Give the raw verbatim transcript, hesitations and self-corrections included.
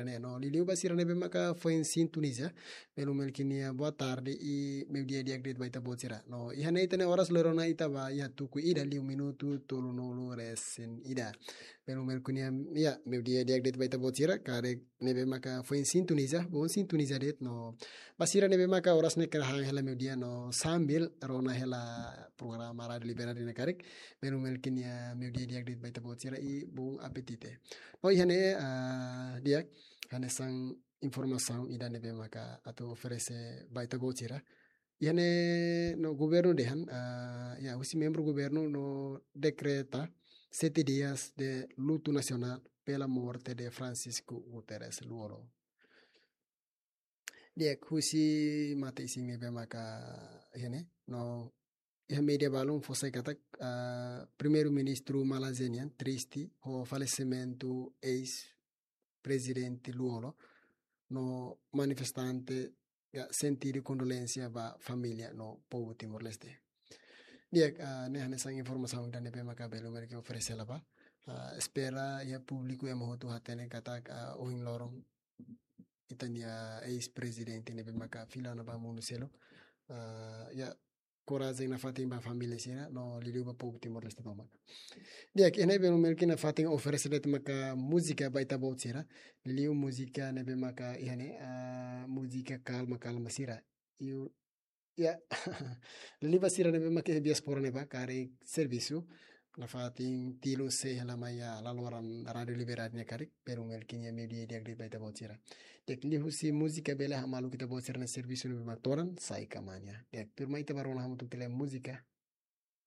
ne'e. No liuliu ba sira ne'ebé maka foin sintoniza, belu Melkin nia boa tarde i meiudia di'ak de'it ba ita-boot sira. No iha ne'e ita-nia oras lorona ita ba iha tuku ida liu minutu tolunulu resin ida. Belu Melkin nia, ya, meiudia di'ak de'it ba ita-boot sira, karik ne'ebé maka foin sintoniza, bom sintoniza de'it no. Ba sira ne'ebé maka oras ne'e hahán hela meiudia no sambil rona hela programa Rádio Liberdade nia karik, belu Melkin nia meiudia di'ak de'it ba ita-boot sira i bom apetite. No iha ne'e, ah, di'ak, hanesan informasaun ida ne'ebé maka atu oferese ba ita-boot sira. Iha ne'e no governu dehan, ah, ya, husi membru governu no dekreta sete dias de luto nacional pela morte de Francisco Guterres Lú-Olo. Di'ak, husi matan-isin ne'ebé maka iha ne'e, no iha média balun fó sai katak, ah, Primeiru-Ministru Malaysia nian triste ho falesimentu eis-prezidente Lú-Olo, no manifestante, ya, sentidu kondolénsia ba família no povu Timor-Leste. Di'ak, ah, ne'e hanesan informasaun ida ne'ebé maka belu Melkin oferese hela ba. Ah, espera iha públiku ema hotu hatene katak, ah, ohin loron ita-nia eis-prezidente ne'ebé maka fila ona ba mundu seluk. Ah, ya, korajen nafatin ba família sira no liuliu ba povu Timor-Leste tomak. Di'ak, iha ne'e belu Melkin nafatin oferese de'it maka múzika ba ita-boot sira. Liuliu múzika ne'ebé maka iha ne'e, ah, múzika kalma-kalma sira. Iu, ya, liuliu ba sira ne'ebé maka iha diáspora ne'ebá karik servisu, nafatin tilun sei hela mai iha laloran Rádio Liberdade nia karik, belu Melkin nia meiudia di'ak de'it ba ita-boot sira. Di'ak, liuhusi múzika bele hamaluk ita-boot sira-nia servisu ne'ebé maka todan, sai kamanya. Di'ak, tuirmai ita bá rona hamutuk tiha múzika.